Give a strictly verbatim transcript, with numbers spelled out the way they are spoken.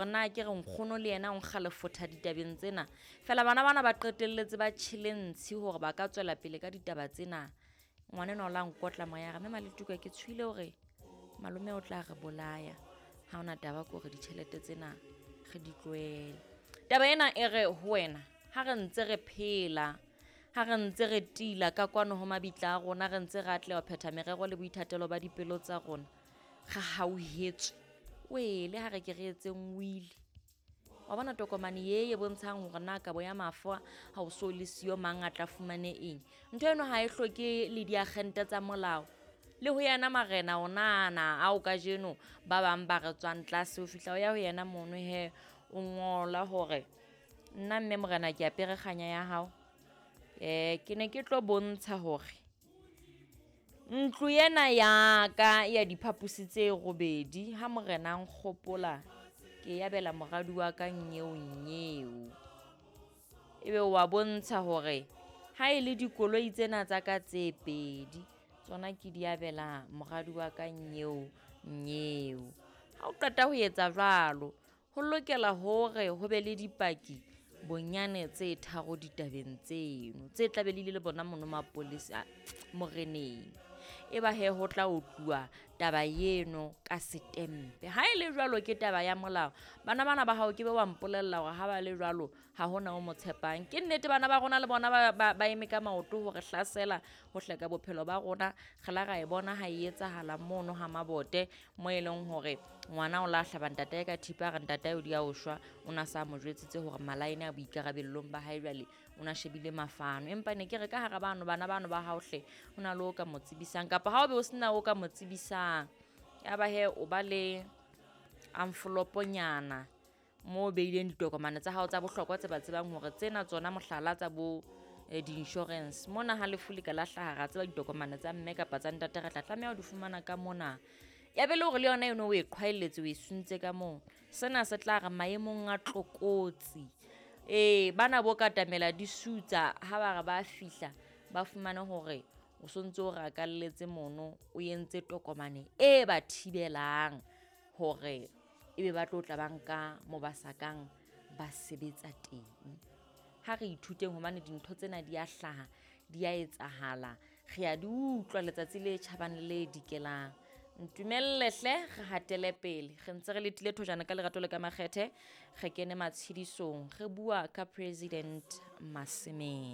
Na ke re nkgono le yena o nkga lefotha ditabeng tsena. Fela bana bana ba qetelletse ba tjhele ntshi hore ba ka tswela pele ka ditaba tsena. Ngwana enwa o la nkotla moya re mme Maletuka ke tshohile hore malome o tla re bolaya. Ha hona taba ke hore ditjhelete tsena re di tlohele. Taba ena e re ho wena ha re ntse re phela, ha re ntse re tila ka kwano ho mabitla a rona, re ntse re atleha ho phetha merero le boithatelo ba dipelo tsa rona, re hauhetswe. Wele ha re ke re etseng will. Wa bona tokomane ye e bontshang hore na kabo ya mafa ha o so le siyo mang a tla fumane eng. Ntho eno ha e hloke le diakgente tsa molao. Le ho yena marena onana ao kajeno ba bang ba re tswang tlase ho fihla o ya ho yena mono hee o ngola hore nna mme morena ke apere kganya ya hao. Eh ke ne ke tlo bontsha hore ntlo ena ya ka ya diphaposi tse robedi ha morena a nkgopola ke e abela moradi wa ka nyeo nyeo. Ebe wa bontsha hore ha e le dikoloi tsena tsa ka tse pedi tsona ke di abela moradi wa ka nyeo nyeo. Ha o qeta ho etsa jwalo, ho lokela hore ho be le dipaki bonyane tse tharo ditabeng tseno tse tla be le ile le bona mono mapolesa moreneng. Eba hee ho tla otluwa taba eno ka setempe. Ha e le jwalo ke taba ya molao. Bana bana ba hao ke be wa mpolella hore ha ba le jwalo ha hona o mo tshepang. Ke nnete bana ba rona le bona ba ba ba eme ka maoto hore hlasela ho hleka bophelo ba rona. Re la ra e bona ha e etsahala mono ha Mabote mo e leng hore ngwana o la hlaba ntatae ka thipa a re ntatae o dia o shwa. O na sa mo jwetsitse hore malaene a boikarabellong ba hae jwale o na shebile mafano. Empa ne ke re ka hara bano bana bano ba hao hle ho na le o ka mo tsebisang kapa ha o be o sena o ka mo tsebisang. Ya ba hee o ba le envelope-nyana moo o beileng ditokomane tsa hao tsa bohlokwa tse ba tsebang hore tsena tsona mohlala tsa bo di-insurance. Mona ha lefu le ka la hlaha ra tseba ditokomane tsa mme kapa tsa ntate re tla tlameha ho di fumana ka mona. Ya be le hore le yona eno o e qhwaelletse o e suntse ka moo. Sena se tla re maemong a tlokotsi. Ee bana bo katamela di sutsa ha ba re ba fihla ba fumane hore o sontso o rakalletse mono o entse tokomane e ba thibelang hore ebe ba tlo tla ba nka moo ba sa kang ba sebetsa teng. Ha re ithuteng hobane dintho tsena di a hlaha, di a etsahala. Re a di utlwa letsatsi le tjhabang le le dikelang. Ntumelle hle re hatele pele. Re ntse re letile thojana ka lerato le ka makgethe. Re kene matshedisong. Re bua ka President Masemeng.